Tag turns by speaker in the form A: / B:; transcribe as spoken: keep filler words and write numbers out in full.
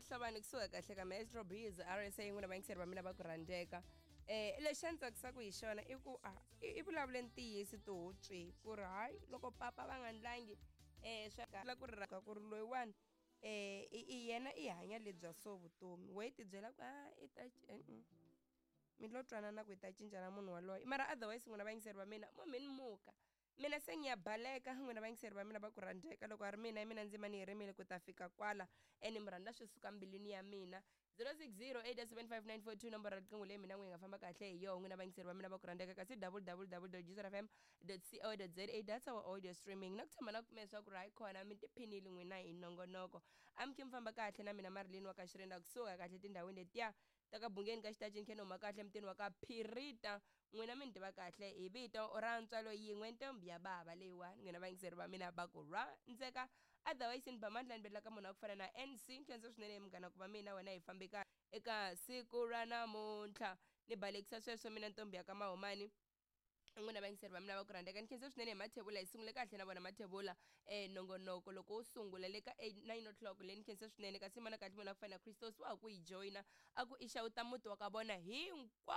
A: Hlabane kusuka kahle ka Maestro Biz R S A, n'wina vayingiseri va mina va ku rhandzeka. eh lexi a ni tsakisaka hi xona i ku a i vulavule ntiyiso tihutswi ku ri hayi, loko papa va nga ndlangi eh swa la ku ri raka ku ri loyiwani eh i yena i hanya lebya so vutomi we ti byela ku a i ta mi lo twanana ku hi ta cinca na munhu waloye. Mara otherwise, n'wina vayingiseri va mina, mo mi ni muka mina se ni ya baleka. N'wina vayingiseri va mina va ku rhandzeka, loko a ri mina mina ndzima ni yi rimile ku ta fika kwala ene mi rhandza swi suka mbilwini ya mina. zero six zero eight seven five nine four two, nomboro ya riqingho leyi mina n'wi hi nga famba kahle hi yoho, n'wina vayingiseri va mina va ku rhandzeka. Kasi w w w f m co za, that's our audio streaming. Na ku tshama na kume leswaku ri hayi khona mi tiphinile n'wina hi nongonoko. Amukhe mi famba kahle na mina Marilyn wa ka Xirenda, kusuka kahle tindhawini letiya ta ka Bungeni ka Xitacini, khe ni huma kahle mutini wa ka Phirita. N'wina mi ni tiva kahle hi vito ra ntswalo yin'we, ntombi ya bava leyiwani, n'wina vayingiseri va mina va ku rhandzeka. Otherwise ni ba mandla ni belela ka munhu wa ku fana na N C. Nkhensa swinene munghana ku va mina wena hi fambe ka eka siku ra namuntlha. Ni balekisa sweswo mina ntombi ya ka Mahumani, n'wina vayingiseri va mina va ku rhandzeka. Ni khensa swinene hi Mathebula, hi sungule kahle na vona Mathebula um nongonoko loko wo sungula le ka eight nine o'clock leyi. Ni khensa swinene kasi mana kahle munhu a ku fana na Christos wa ha ku yi joyina, a ku i xawuta muti wa ka vona hinkwawo.